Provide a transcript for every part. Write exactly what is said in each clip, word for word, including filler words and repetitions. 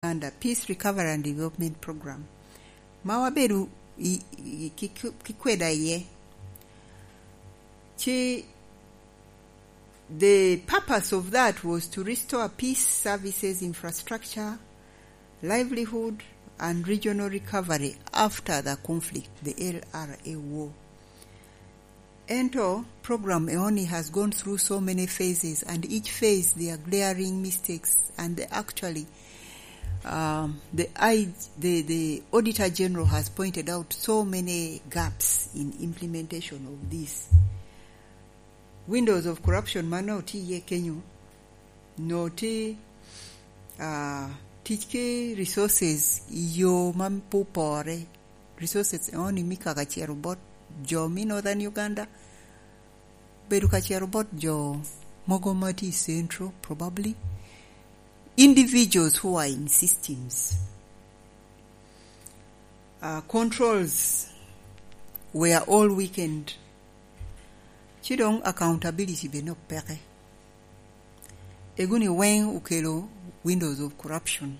Uganda Peace Recovery and Development Program, ma wabedo i, i, ki, ki kweda iye. Ci the purpose of that was to restore peace services, infrastructure, livelihood, and regional recovery after the conflict, the L R A war. Ento program eoni has gone through so many phases, and each phase there are glaring mistakes, and the, actually, um, the, I, the, the Auditor General has pointed out so many gaps in implementation of this. Windows of corruption ma nongo tye iye kenyo, nongo tye, ah, tic ki resources i yo ma pe opore. Resources eoni me kaka cito bot jo me Northern Uganda, bedo ka cito bot jo mogo ma tye i Central, probably. Individuals who are in systems. Uh, controls were all weakened. Ci dong accountability bene opeke. Eguni weng okelo windows of corruption.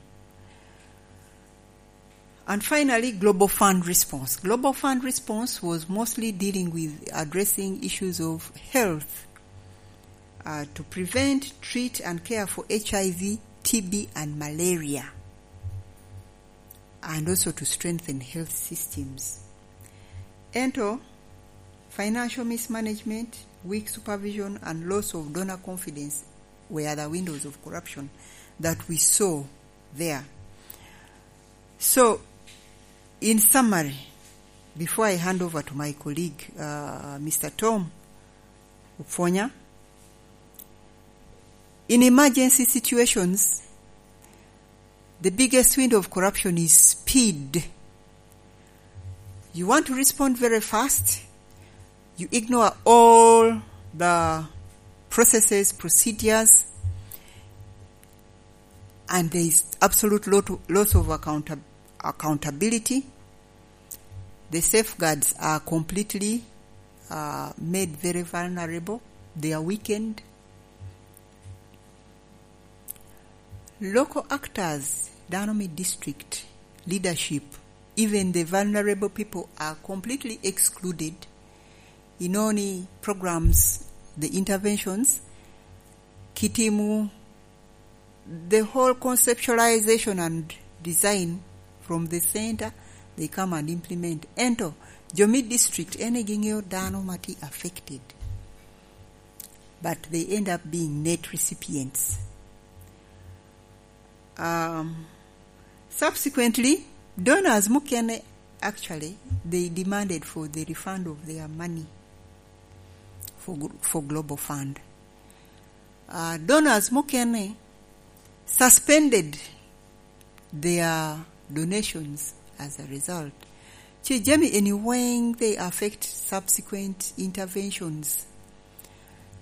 And finally, Global Fund response. Global Fund response was mostly dealing with addressing issues of health, uh, to prevent, treat, and care for H I V, T B, and malaria, and also to strengthen health systems. Ento, financial mismanagement, weak supervision, and loss of donor confidence were the windows of corruption that we saw there. So, in summary, before I hand over to my colleague, uh, Mister Tom Opwonya, in emergency situations, the biggest window of corruption is speed. You want to respond very fast, you ignore all the processes, procedures, and there is absolute lot, loss of account, accountability. The safeguards are completely, uh, made very vulnerable. They are weakened. Local actors, dano me district, leadership, even the vulnerable people are completely excluded. Inoni programs, the interventions, kitimo the whole conceptualization and design from the center, they come and implement. Ento, jo me district, ene ging'eyo dano ma tye affected, but they end up being net recipients. Um, subsequently, donors mukene, actually, they demanded for the refund of their money for, gl- for Global Fund. Uh, donors mukene suspended their donations as a result. Ci jami eni weng, they affect subsequent interventions.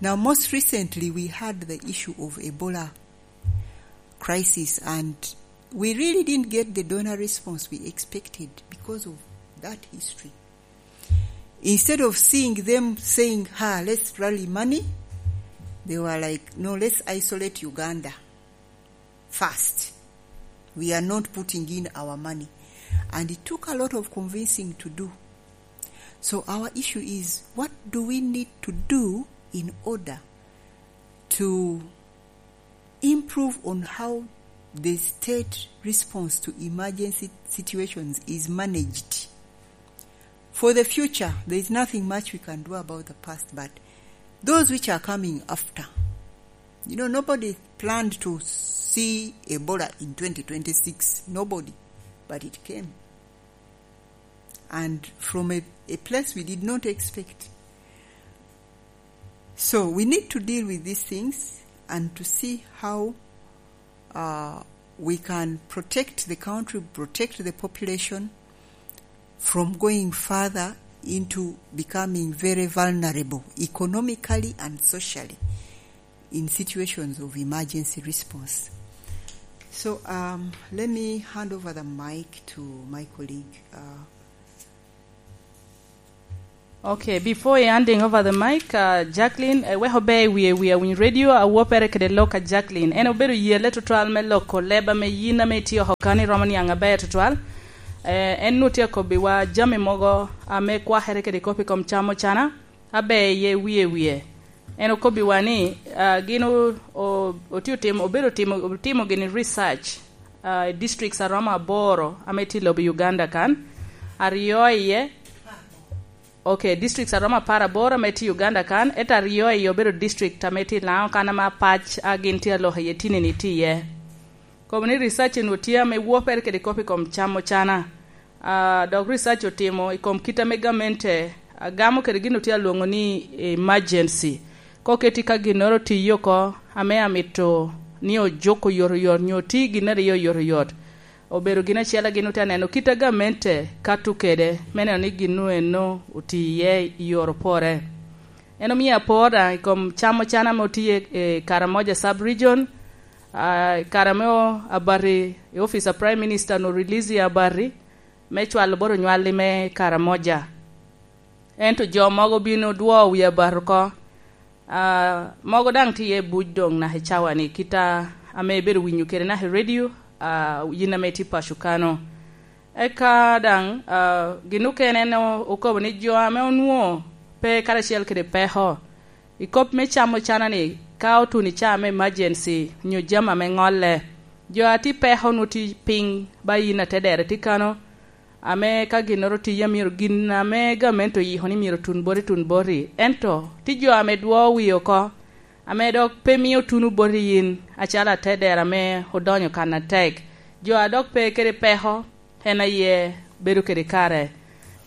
Now, most recently, we had the issue of Ebola crisis, and we really didn't get the donor response we expected because of that history. Instead of seeing them saying, "Ha, let's rally money," they were like, "No, let's isolate Uganda first. We are not putting in our money." And it took a lot of convincing to do. So our issue is, what do we need to do in order to improve on how the state response to emergency situations is managed? For the future, there is nothing much we can do about the past, but those which are coming after, you know, nobody planned to see Ebola in twenty twenty-six. Nobody. But it came. And from a, a place we did not expect. So we need to deal with these things and to see how, uh, we can protect the country, protect the population from going further into becoming very vulnerable economically and socially in situations of emergency response. So, um, let me hand over the mic to my colleague, uh, Okay, before I handing over the mic, uh, Jacqueline, uh, wek obe i wie wie awiny radio, awopere kede lok a Jacqueline. En obedo yelle tutwal me loko leb ame yin ame itye oko kan iromo niaŋ aber tutwal. Eh, en nu tye akobbiwa jami mogo ame kwakere kede kop i kom cam ocana, abe iye wie wie. En okobbiwa ni, uh, gin o-, o-, otye otimo, obedo otimo, otimo gini research, uh, i districts aromo aboro ame tye i lobo Uganda kan. Aryo iye, okay, districts aromo apar aboro ame tye i Uganda kan, ento aryo iye obedo district ame tye i Lango kan ame apac a gin tye aloko iye tinini tye iye. Kobo ni research enu tye ame wopere kede kop i kom cam ocana. Ah, dok research otimo i kom kit ame gamente agamo kede gin otye alwoŋo ni emergency. Koketi ka ginnoro otiye oko ame amito ni ojuk oyotoyot nyo oti gin aryo oyotoyot. Obedo gin acel a gin otye aneno kit a gamente kato kede me neno ni gin eno oti iye i yor opore. En omio apor daŋ i kom cam ocana ame otiye i Karamoja Sub Region, ah, i kare ame o-, abati i office a Prime Minister no release i abati me cwalo bot onywalli me Karamoja. Ento jo mogo bino dwo wi abati oko. Ah, mogo daŋ tye iye buc doŋ naka i cawa-ni, kit a-, ame ibedo winyo kede naka i radio, ah, yin ame itye paco kano. Eka daŋ, ah, gin okene en o-, okobo ni jo ame onwoŋo pe karacel kede peko i kop me cam ocana-ni, ka otuno i caa me emergency nyo jami ame ŋolle, jo a tye peko nwoŋo tye piny ba yin atedere tye kano, ame ka ginnoro tye, myero gin ame gamente oyiko ni myero tun boti, tun boti. Ento tye jo ame dwo wie oko, ame dok pe mio tuno boti yin, acalo atedero ame odonyo kan atek. Jo a dok pe kede peko, en aye bedo kede kare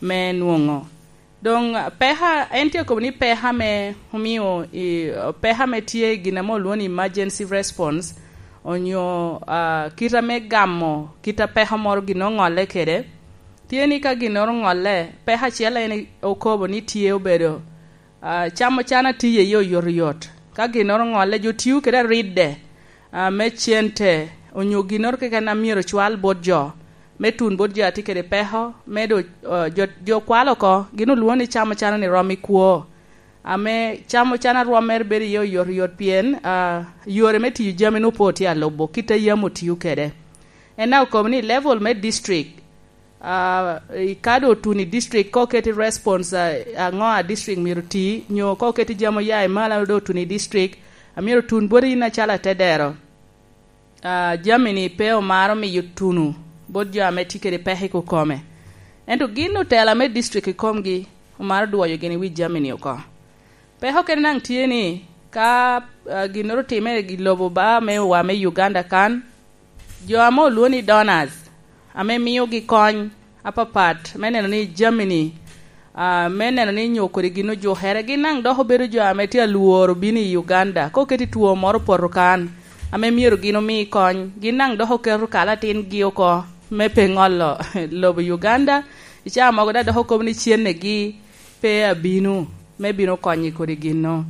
me nwoŋo. Doŋ, peka, en tye akobo ni peka me omio i, peka me tye i gin ame olwoŋo ni emergency response, onyo, ah, kit ame gamo kit a peko moro gin oŋolle kede, tye ni ka ginnoro oŋolle, peko acel en okobo ni tye obedo, ah, cam ocana tiye iye oyotoyot. Ka ginnoro oŋolle, jo tio kede aridde, ah, me cente, onyo ginnoro keken a myero ocwal bot jo, me tun bot jo a tye kede peko, me do, ah, jo, jo kwalo oko, gin olwoŋo ni cam ocana-ni rom i kwo. Ame cam ocana rwommere bedo iye oyotoyot pien, ah, yore me tiyo jami nwoŋo pe otye alubo kit a yam otio kede. En daŋ okobo ni level me district, ah, i ka doŋ otuno i district, ka oketi response, ah, aŋo a district myero oti, nyo ka oketi jami oya i malo a doŋ otuno i district, a myero otun boti yin acalo atedero. Ah, jami-ni pe omaro miyo tuno bot jo ame tye kede peko i kokome. Ento gin otela me district i komgi omaro dwoyo gini wi jami-ni oko. Peko kene daŋ tye ni, ka, ah, ginnoro otime i lobo ba me wa me Uganda kan, jo ame olwoŋo ni donors, ame miogi kony apapat me neno ni jami-ni, ah, me neno ni nyo kodi gin ojukere, gin daŋ dok obedo jo ame tye alworo bino i Uganda. Ka oketi two moro opoto kan, ame myero gin omi kony, gin daŋ dok oketo kalatingi oko me pe ŋolo lobo Uganda. I caa mogo daŋ dok okobo ni cennegi pe abino me bino konyo i kodi ginno.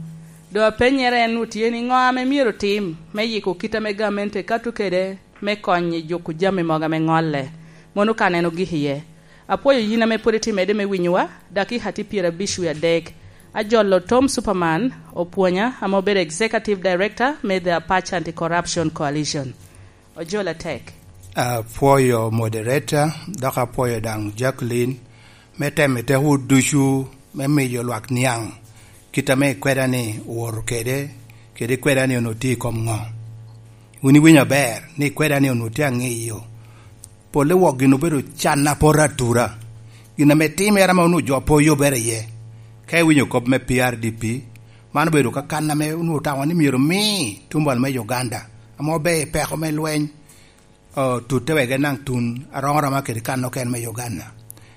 Doŋ apenyere en otye ni ŋo ame myero otim me yiko kit ame gamente kato kede me konyo i juko jami mogo ame ŋolle. Mono ka neno gik iye. Apwoyo yin ame pwod itye mede me winyowa, dakika tye pyerabic wie adek. Ajolo Tom Superman, opwonya, ame obedo Executive Director me The Apache Anti-Corruption Coalition. Ojol atek. Apwoyo moderator, dok apwoyo daŋ Jacqueline, me temo i tekowu ducu me miyo lwak niaŋ kit ame ikweda-ni owoto kede, kede ikweda-ni onwoŋo tye i kom ŋo. Wun iwinyo aber ni ikweda-ni onwoŋo tye aŋeyo. Polle wok gin obedo can apoto atura. Gin ame timere ame onwoŋo jo pe oyobere iye. Ka iwinyo kop me P R D P, man obedo ka kan ame onwoŋo otamo ni myero omi tumbal me Uganda, ame obedo i peko me lweny, o, tutte wek en daŋ tun aromo aroma kede kan okene me Uganda.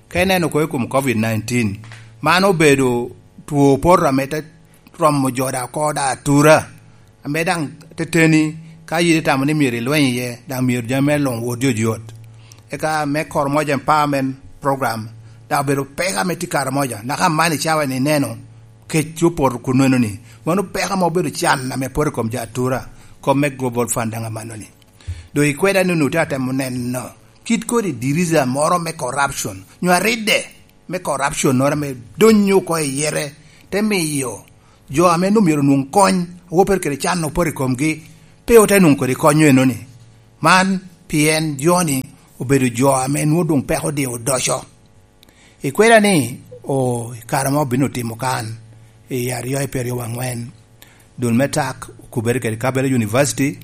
Ka ineno kono i kom covid nineteen, man obedo two poto ame te romo jo daŋ oko daŋ atura, ame daŋ teteni ka yidi tamo ni myero ilweny iye, daŋ myero jami me luŋ wot yot yot. Eka me Koromoja Empowerment Program, daŋ obedo peko ame tye Karamoja, naka man i cawa ni ineno kec opoto kun neno ni, mano peko ame obedo can ame poto i kom jo atura, kom me Global Fund daŋ amanno ni. Doŋ ikweda ni onwoŋo tye atemo neno kit kodi diriza moro me corruption, nyo aridde, me corruption-noro ame donyo oko i yete, te miyo jo ame nwoŋo myero onwoŋ kony, awobe kede can opoto i komgi, pe ote nwoŋo kodi konyo enoni. Man pien jo-ni obedo jo ame nwoŋo doŋ peko odie odoco. I kweda ni, o, i kare ma obino timo kan, i aryo i pyeraryo waŋwen, dul me tak okubere kede Kabarak University,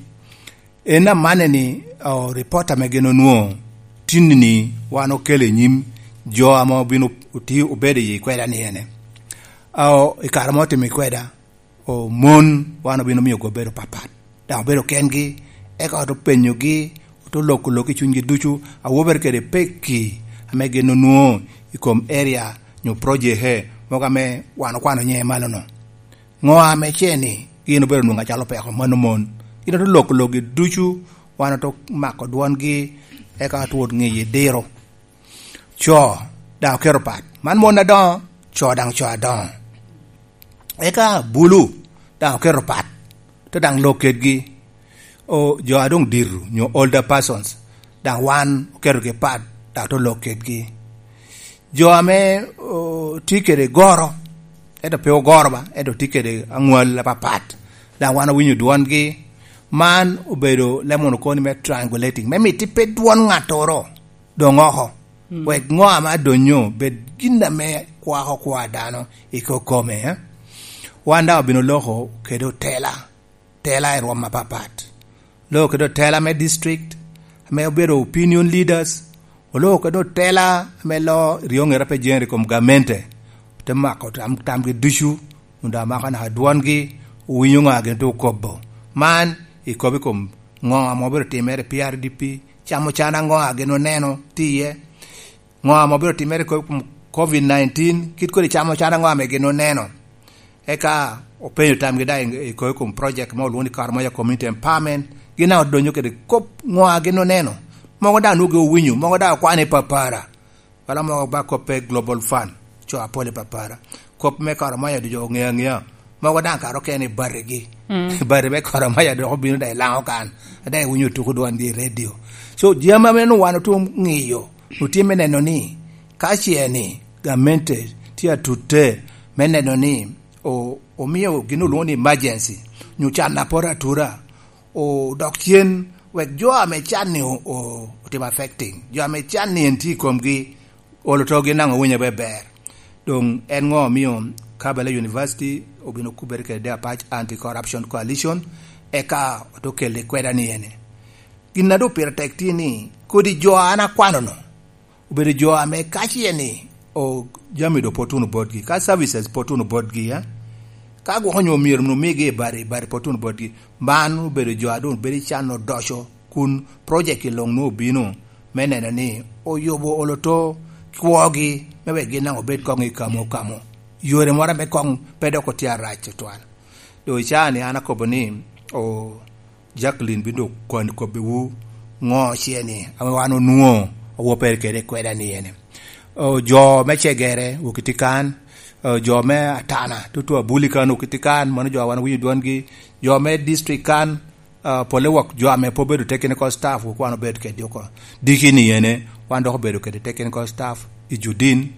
en amanne ni, o, ripot ame gin onwoŋo tinni-ni wan okelo i nyim jo ame obino oti-, obedo i kweda ni ene. O, i kare ma otimo i kweda, o, mon wan obino miyo obedo papat. Daŋ obedo kengi, eka ote penyogi, ote loko lok i cunygi ducu, awobere kede pekki ame gin onwoŋo i kom area nyo project mogo ame wan okwano nyiŋe malo-nu. Ŋo ame ce ni gin obedo nwoŋo acalo peko mano mon? Gin ote loko lokgi ducu, wan ote mako dwongi, eka otwot ŋiyi diro. Co daŋ oketo pat. Man mon adoŋo, co daŋ co adoŋo. Eka bulu daŋ oketo pat, te daŋ lok kedgi. O, jo a doŋ dito, nyo older persons, daŋ wan oketogi pat, daŋ te lok kedgi. Jo ame, o, tye kede goro, ento pe ogoro ba, ento tye kede aŋwal apapat, daŋ wan owinyo dwongi. Man obedo leb mono koni me triangulating, me miti pe dwon ŋattoro doŋ oko. Mm. Wek ŋo ame adonyo bed gin ame kwako kwa dano i kokome, eh? Wan daŋ obino loko kede otela, tela i rwom apapat. Loko kede otela me district, ame obedo opinion leaders, oloko kede otela ame lo ryoŋere pe jeŋere i kom gamente, te mako tam, tamgi ducu, onwoŋo daŋ amako naka dwongi, owinyo ŋo a gin te okobo. Man ikobo i kom ŋo ame obedo timere i P R D P, camo can aŋo a gin oneno tye iye, ŋo ame obedo timere i kom covid nineteen, kit kodi camo can aŋo ame gin oneno. Eka openyo tamgi daŋ i, i kom project ma olwoŋo ni Karamoja Community Empowerment, gin daŋ odonyo kede kop ŋo a gin oneno. Mogo daŋ nwoŋo owinyo, mogo daŋ okwano i papara. Wala mogo ba kop pe Global Fund, co apol i papara. Kop me Karamoja ducu oŋeo aŋea. Mogo daŋ kara okene i batigi. Mm. Bati me Karamoja dok obino daŋ i Laŋo kan. Daŋ iwinyo tuko dwongi i radio. So, jami ame nwoŋo wan otum ŋiyo, otye me neno ni, ka ce ni gamente tye atutte me neno ni o-, omio gin olwoŋo ni emergency, nyo can a poto atura, odok cen, wek jo ame can ni o-, o-, otim affecting, jo ame can ni en tye i komgi, olo to gin daŋ owinyo abe ber. Doŋ en ŋo omio Kabarak University obino kubere kede Apac Anti-Corruption Coalition, eka ote kelle kweda ni ene? Gin a doŋ pire tek tye ni, kodi jo a an akwano-nu, obedo jo ame ka ce ni, o, jami doŋ pe otuno botgi, ka services pe otuno botgi, eh? Ka gwok onyo myero omigi i bati, i bati pe otuno botgi, man obedo jo a doŋ bedo i can odoco, kun project i luŋ nwoŋo obino me neno ni oyubo olo to kwogi, me wek gin daŋ obed koŋ i kamo kamo. Yore moro ame koŋ pe dok otye arac tutwal. Doŋ i caa ni an akobo ni, o, Jacqueline bino doŋ koni kobbiwu ŋo ce ni ame wan onwoŋo owoppere kede i kweda ni ene. O, jo me Cegere wok itye kan, o, jo me Atana, tutu Abuli kan wok itye kan, mano jo a wan owinyo dwongi, jo me district kan, a, pole wok jo ame pe obedo technical staff, wok wan obedo kedgi oko. Diki ni ene, wan dok obedo kede technical staff i Judin.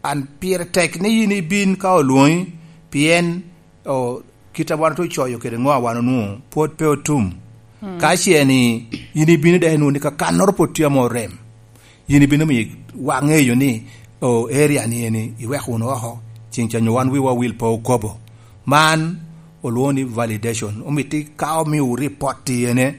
An pire tek ni yin ibin ka olwoŋi, pien, o, kit a wan ocoyo kede ŋo a wan onwoŋo, pwod pe otum. Mm. Ka ce ni yin ibino dok inwoŋo ni kakannoro pwod tye ame orem, yin ibino miyo waŋeyo ni, o, area ni eni iweko wunu oko, ceŋ ca nyo wan wiwa wil pe okobo. Man olwoŋo ni validation. Omiti ka omiowu report i ene,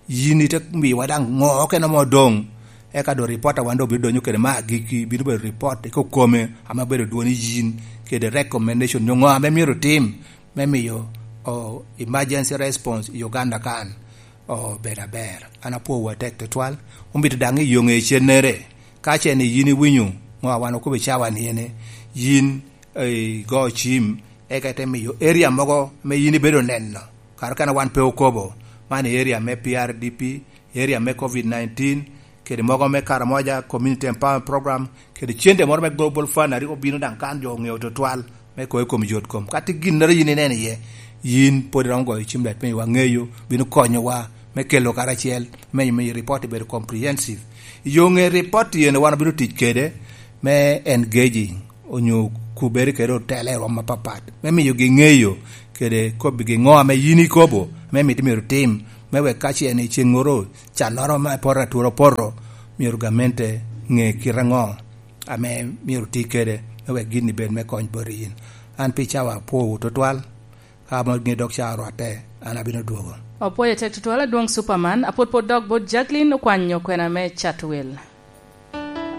yin ite miyowa daŋ ŋo okene mo doŋ. Eka doŋ report a wan doŋ obino donyo kede me agikki, bino bedo report i kokome ame obedo dwoni yin, kede recommendation nyo ŋo ame myero otim me miyo, o, emergency response i Uganda kan obed aber. An apwowu atek tutwal. Omito daŋ i yo ŋe cennere, ka ce ni yin iwinyo ŋo a wan okobo i cawa ni ene, yin, eh, igo cim, eka ite miyo area mogo ame yin ibedo neno, kara okene wan pe okobo, man i area me P R D P, area me covid nineteen, kede mogo me Karamoja Community Empowerment Program, kede cente moro me Global Fund a rik obino daŋ kan jo oŋeo tutwal me kobo i kom yot kom. Ka tye ginnoro yin ineno iye, yin pwod iromo goyo cim dok ipenyo wa ŋeyo, bino konyowa me kelo karacel, me miyo report bedo comprehensive. I yo ŋe report yen wan obino tic kede, me engaging onyo kubere kede otela i rwom apapat, me miyogi ŋeyo kede kobbigi ŋo ame yin ikobo, ame mito myero tim, me wek ka ce en i ceŋŋoro cannoro me poto atura opoto, myero gamente ŋe kite aŋo ame myero ti kede, me wek gin ni bed me kony bot yin. An pi cawa apwowu tutwal, ka amo ŋe dok ca orwatte, an abino dwogo. Opwoyo tek tutwal adwoŋ Superman, apwod pwod dok bot Jacqueline okwanyo kwena me Chatwel.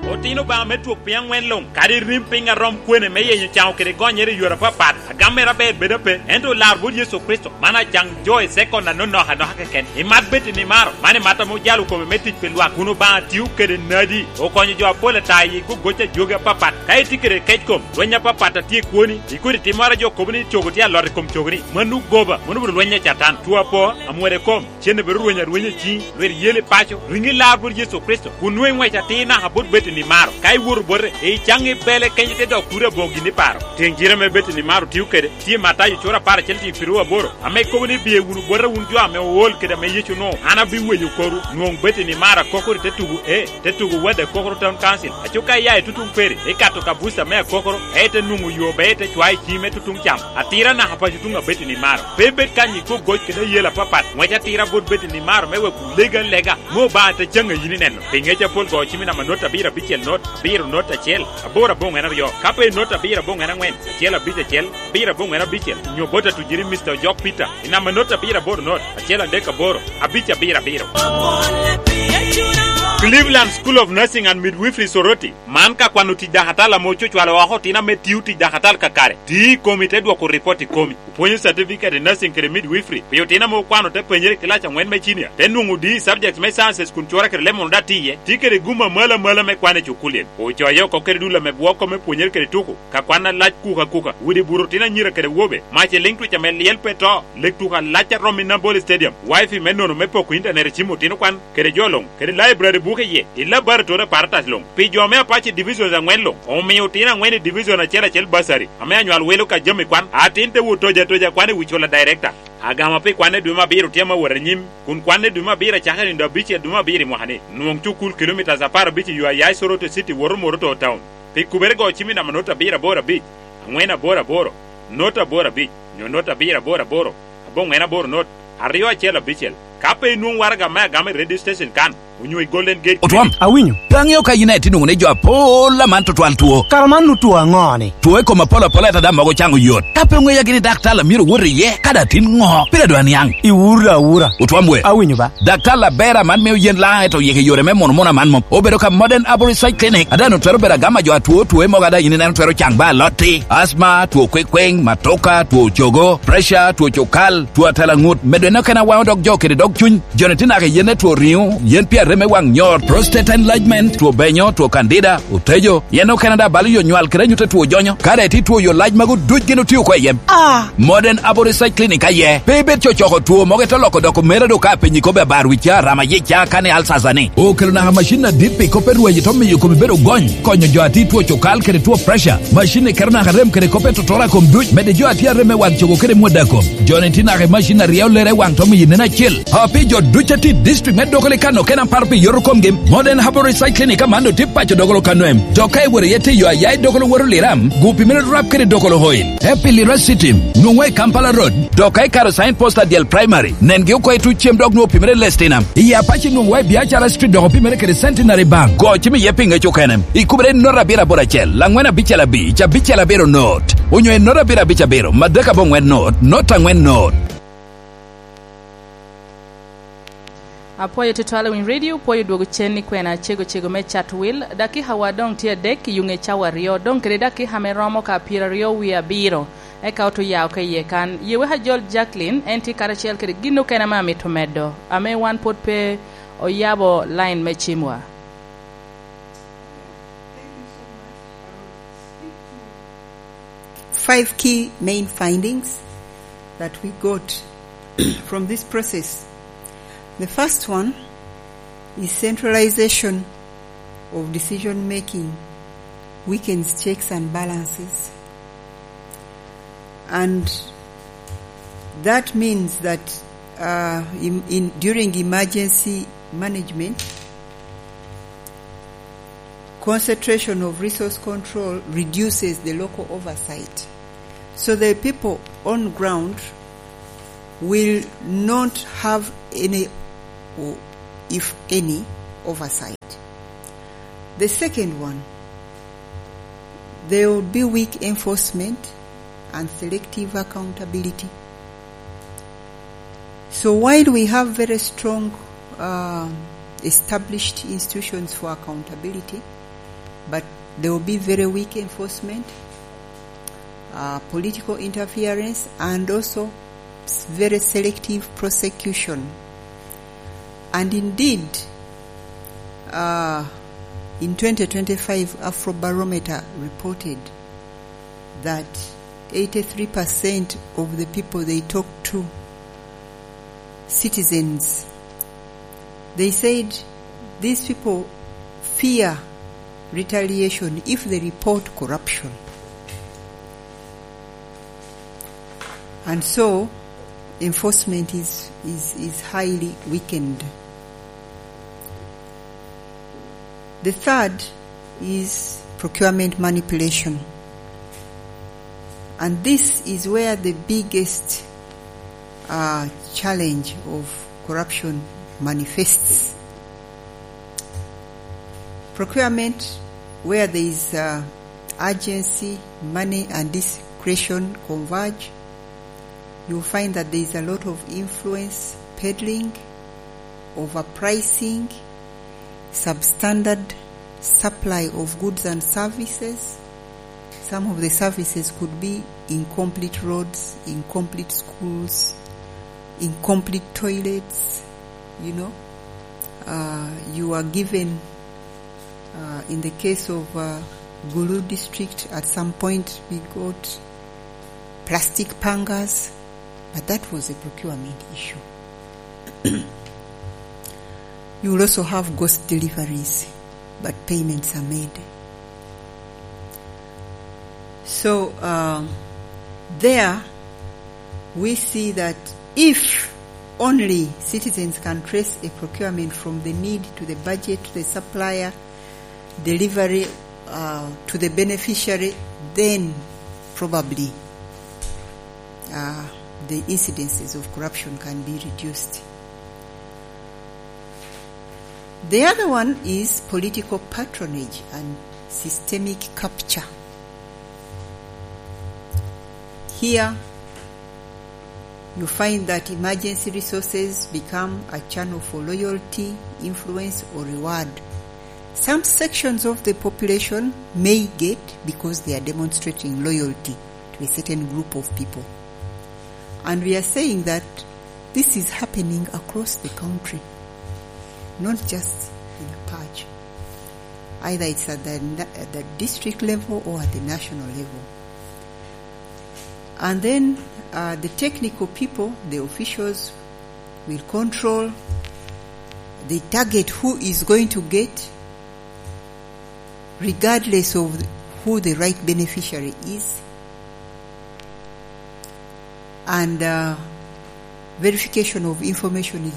Otino Obaŋa me twok piny aŋwen luŋ, kadi rim piny arom kwene me yenyo caŋo kede gonyere i yore apapat, agam mere aber bedo ape, ento olar bot Yecu Kricito, man acaŋ jo i sekon anonoka anoka keken. Imat bed i nimaro, man imat ame ojalo kome me tic pi lwak, kun Obaŋa tio kede nadi, okonyo jo apol ata i gogoc ajogi apapat. Ka itye kede kec kom, lweny apapat a tye i kwoni, ikodi timmoro a jo kobo ni cogo tye alot i kom cogoni, mano goba, mano obedo lweny a Catan. Two apo, amwode kom, cen obedo rweny arwenya i ciŋi, lwet yel i paco, riŋi lar bot Yecu Kricito, kun nwoŋo iŋwec atir naka bot bed i nimaro. Ka iwoto bote, icaŋ ibele kenyo te dok kuri aboŋo gin iparo. Tiŋ cire me bed i nimaro tio kede, tye Matayo cura apar acel tiŋ piru aboro, ame kobo ni, "Biye wunu bota wun jo ame ool kede ame Yecu onwoŋo, an abiwenyo korwu." Nwoŋ bed i nimaro akokoro i te tugo e, te tugo wadde akokoro Town Council. Aco ka iya i tutuŋ peri, ikato ka buca me akokoro, ka ite nwoŋo yo be ite cwayo i ci me tutuŋ cam. Atira naka paco tuŋ abed i nimaro. Pe ibed kany i kwo goc kede ayela apapat, ŋwec atira bot bed i nimaro me wek wulego alega, me Obaŋa te caŋ a yin ineno. Pi ŋec apol go cim i namba not abiro abicel not, abiro not acel, aboro aboŋwen aryo. Ka pe i not abiro aboŋwen aŋwen, acel abic acel, abiro aboŋwen abicel, nyo bot atujiri Mister Ojok Peter, i namba not abiro aboro not, acel adek aboro, abic abiro abiro. Cleveland School of Nursing and Midwifery Soroti, man ka kwano tic dakatala ame ococwalo oko otino ame tio tic dakatala kakare, ti i komi te dwoko ripot i komi. Opwonyo certificate i nursing kede midwifery pi otino ame okwano te penyere i kilac aŋwen me cinia, te nwoŋo D E subjects me sciences kun cura kede leb mono daŋ tye iye, tye kede gum amalo amalo me kwan i cukulli. Ocoye oko kede dul ame bwoko me pwonyere kede tuko, ka kwan alac kuka kuka, udi buto otino anyira kede awobe, mac i liŋ twic ame lyel pe to, lek tuko alac a romo i Nambole Stadium, wifi me nono me poko internet i cim otino kwan, kede jo luŋ, kede library buke iye, i laboratory apparatus luŋ. Pi jo me Apache Divisions aŋwen luŋ, omio otino aŋwen i division acel acel bursary, ame anywal wilo ka jami kwan, atin te wot tojo atoja kwan i wi cula director. Agama pi kwan i dwe me abiro tye ame awot anyim, kun kwan i dwe me abiro acakere i nino abicel dwe me abiro i mwaka-ni. Nwoŋ cukul kilomitas apar abic i yo a ya i Soroti City woto Moroto Town. Pi kubere go cim i namba not abiro aboro abic, aŋwen aboro aboro, not aboro abic, nyo not abiro aboro aboro, aboŋwen aboro not, aryo acel abicel. Ka pe inwoŋo waraga me agama i radio station kan, onyo i Golden Gate Otwom, Clinic. Awinyo. Pe aŋeo ka yin aye tye nwoŋo ni jo apol aman tutwal two. Kara man nu two aŋo-ni? Two i kom apol apol ata daŋ mogo caŋo yot. Ka pe oŋeya gini daktar a myero wot iye, ka daŋ tin ŋo? Pire dwa niaŋ. Iwura awura. Otwom we. Awinyo ba. Daktar aber aman mio yen laŋ eto yik i yore me mono mono aman mom. Obedo ka Modern Arborist Side Clinic, a daŋ twero bedo agama jo atwo two mogo a daŋ yin ineno twero caŋ ba alotti, asma, two kwekweŋ, matoka, two cogo, pressure, two cukal, two atela ŋut, medo en okene awaŋo dog jo kede dog cuny. Joni tye naka i yen e two riŋo, yen pi arem me waŋ nyor, prostate enlargement, two benyo, two candida, otejo, yen okene daŋ balo yo nywal kede anyut a two jonyo. Ka daŋ itye two yo lac magu duc gin otio oko i yen. Ah! Modern Arborist Side Clinic aye. Pe ibed cocoko two mogo ite loko doko mera do ka penyi kobbe abar wi ca, rama yic ca, kane alsasa ni. Okelo naka macin adit pi kop me rweny ito miyo komi bedo gony, konyo jo a tye two cukal kede two pressure. Macin ni keto naka rem kede kop me totora kom duc, mede jo a tye arem me waŋ cogo kede mwada kom. Joni tye naka i macin aryo lere waŋ to miyo nen acel. A pi jo duc a tye i district me Dokolo i Kano kena paro pi yoto komgi, Modern Herbal Recycling i Kamando tye paco Dokolo Kano em. Dok ka iworo iye tye yo a ya i Dokolo woto Liram, gu pi mene rap kede Dokolo Oil. Happy Lira City, nwoŋwa i Kampala Road. Dok ka ikaro sign post adyel primary, nengi oko i tuc cem dok nwoŋo pi mene Lestinam. I Apache nwoŋwa i Biacara Street dok pi mene kede Centenary Bank. Go cim iye pi ŋec okene. Ikubere i nota abiro aboro acel, angwen abicel abic, abicel abiro not. Onyo i nota abiro abic abiro, madek aboŋwen not, nota angwen not. Apwoyo tutwal i Winy Radio, pwoyo dwogo cen i kwena cego cego me Chatwil. Dakika wa doŋ tye adek i yuŋe cawa aryo, doŋ kede dakika ame romo ka pyeraryo wie abiro, eka oto ya oko iye kan. Ye wek ajol Jacqueline, en tye karacel kede gin okene ame amito medo, ame wan pwod pe oyabo line me cimwa. Five key main findings that we got from this process. The first one is centralization of decision making weakens checks and balances. And that means that, uh, in, in, during emergency management, Concentration of resource control reduces the local oversight. So the people on ground will not have any, or if any, oversight. The second one, there will be weak enforcement and selective accountability. So while we have very strong, uh, established institutions for accountability, but there will be very weak enforcement, uh, political interference, and also s-, very selective prosecution. And indeed, uh, in twenty twenty-five, Afrobarometer reported that eighty-three percent of the people they talked to, citizens, they said these people fear retaliation if they report corruption. And so, enforcement is, is, is highly weakened. The third is procurement manipulation. And this is where the biggest, uh, challenge of corruption manifests. Procurement, where there is, uh, urgency, money, and discretion converge, you find that there is a lot of influence peddling, overpricing, substandard supply of goods and services. Some of the services could be incomplete roads, incomplete schools, incomplete toilets, you know. Uh, you are given, uh, in the case of, uh, Gulu district, at some point we got plastic pangas, but that was a procurement issue. You will also have ghost deliveries, but payments are made. So, um, there we see that if only citizens can trace a procurement from the need to the budget to the supplier, delivery, uh, to the beneficiary, then probably, uh, the incidences of corruption can be reduced. The other one is political patronage and systemic capture. Here, you find that emergency resources become a channel for loyalty, influence, or reward. Some sections of the population may get because they are demonstrating loyalty to a certain group of people. And we are saying that this is happening across the country, not just in a patch. Either it's at the na-, at the district level or at the national level. And then, uh, the technical people, the officials, will control, they target who is going to get, regardless of who the right beneficiary is. And, uh, verification of information is